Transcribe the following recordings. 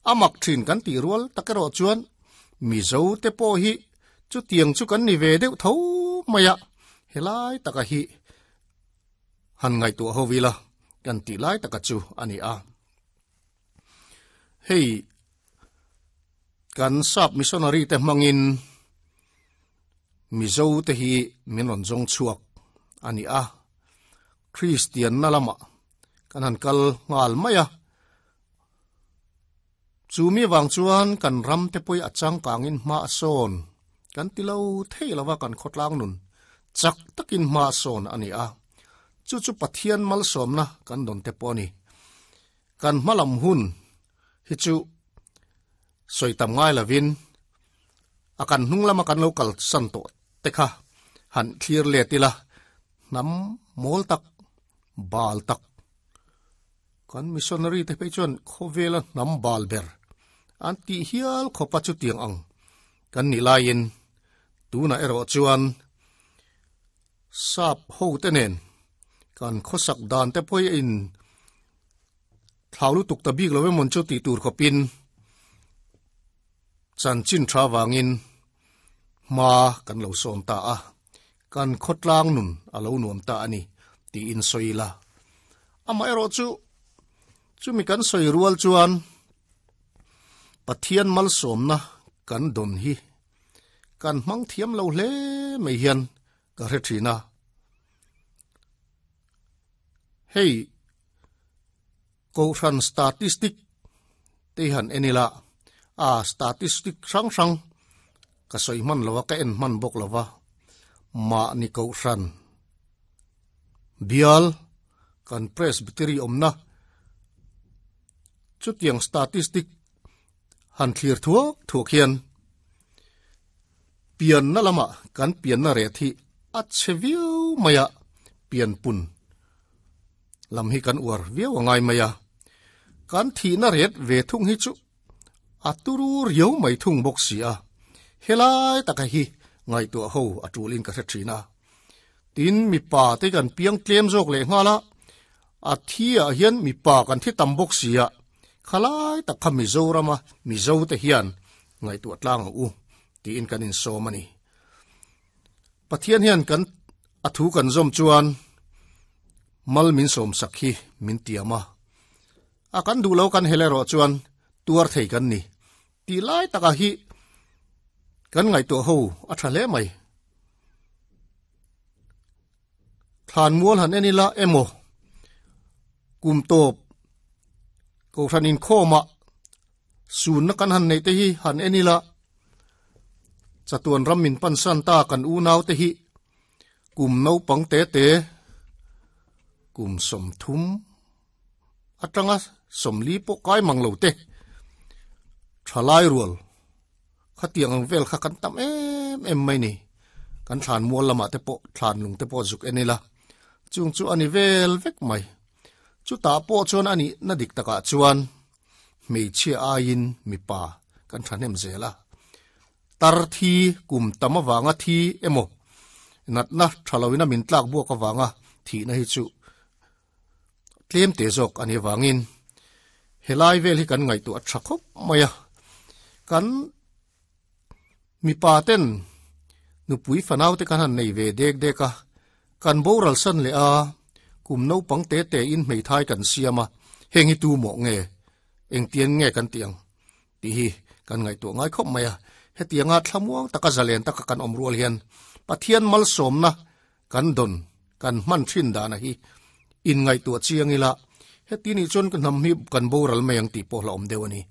A mak thin kan tih rual tak erawh chuan Mizo te pawh hi chutiang chu kan ni ve deuh tho mai a, helai taka hi han ngaihtuah ho ila kan tih lai taka chu a ni a. Hei kan sap missionary te hmangin Mizo te hi min rawn zawng chhuak a ni a, Kristian na lamah kan han kal nghal mai a, chu mi vang chuan kan ram te pawh a changkangin hma a sawn kan ti lo thei lova kan khawtlang nun chak takin hma a sawn a ni a, chu chu Pathian malsawmna kan dawn te pawh a ni. Kan hmalam hun hi chu sawi tam ngai lovin a kan hnung lama kan lo kal san tawh te kha han thlir let ila hnam mawl tak bal tak kan missionary te phei chuan khawvela hnam bal ber an tih hial khawpa chutiang ang kan nih laiin tunah erawh chuan sap ho te nen kan khawsak dan te pawh in Thlau lutuk ta bik lo emawn chu tih tur khawpin chanchin tha vangin hma kan lo sawn ta a, kan khawtlang nun a lo nuam ta a ni tiin sawi ila. Amaherawh chu chumi kan sawi rual chuan Pathian malsawmna kan dawn hi kan hmang thiam lo hle mai hian ka hre thin a. Hei Kohhran statistic te hi han en ila, a statistic hrang hrang ka sawi hman lo a, ka en hman bawk lo va, mahni Kohhran bial kan Presbytery awmna chutiang statistic han thlir thuak thuak hian pianna lamah kan pianna ret hi a chhe viau mai a, pianpun lam hi kan uar viau a ngai mai a, kan thihna ret ve thung hi chu a turu riau mai thung bawk si a, helai taka hi ngaihtuah ho a tulin ka hre thin a. Tin, mipa te kan piang tlem zawk leh nghal a, a thi ah hian mipa kan thi tam bawk si a, khalai tak kha Mizorama Mizo te hian ngaihtuah tlang ang u tiin kan insawm a ni. Pathian hian kan a thu kan zawm chuan mal min sawm sak hi min tiam a, a kan duh lo kan hel erawh chuan tuar thei kan ni tih lai takah hi kan ngaihtuah ho a tha hle mai. Thlan mual han en ila emaw kum tawp kohhran inkhawmah Sunna kan han neih te hi han en ila, chatuan ram min pansan ta kan unau te hi kum naupang te te, kum 30 atanga 40 pawh kai mang lo te, thalai rual khatiang ang vel kha kan tam em em mai ni. Kan thlan mual lamah te pawh thlan lung te pawh zuk en ila, chung chu a ni vel vek mai. Chutah pawh chuan a nihna dik takah chuan hmeichhia aiin mipa kan thahnem zel a. Tar thi kum tam avanga thi emaw natna tha loina min tlak buak avanga thihna hi chu tlem te zawk a nih avangin helai vel hi kan ngaihtuah a tha khawp mai a. Kan mipa ten nupui fanau te kan han nei ve dek dek a, kan boral san leh a, kum naupang te te in hmeithai kan siam a, heng hi tu mawh nge, engtian nge kan tih ang tih hi kan ngaihtuah ngai khawp mai a, hetianga thlamuang taka zalen taka kan awm rual hian Pathian malsawmna kan dawn kan hman thin dana hi inngaihtuah chiang ila, heti nih chuan ka hnam hi kan boral mai ang tih pawh hlauhawm deuh a ni.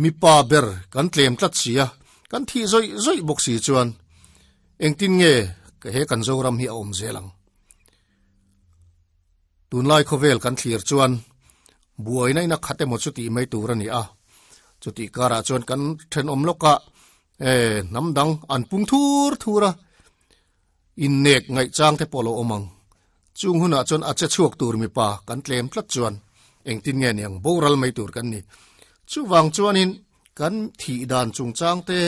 Mipa ber kan tlem tlat si a, kan thih zawih zawih bawk si chuan engtin nge he kan Zoram hi a awm zel ang? Tunlai khawvel kan thlir chuan buaina in a khat emaw chu tih mai tur a ni a, chutih karah chuan kan thenawm lawkah hnam dang an pung thur thur a, Innek ngaihchang te pawh lo awm ang. Chung hunah chuan a che chhuak tur mipa kan tlem tlat chuan engtin nge niang boral mai tur kan ni. Chuvang chuanin kan thih dan chungchang te,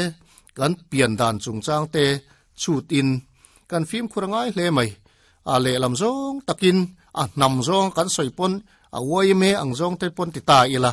kan pian dan chungchang te chhutin kan fimkhur a ngai hle mai. A lehlam zawng takin a hnam zawng kan sawi pawn a uaime ang zawng te pawn ti ta ila.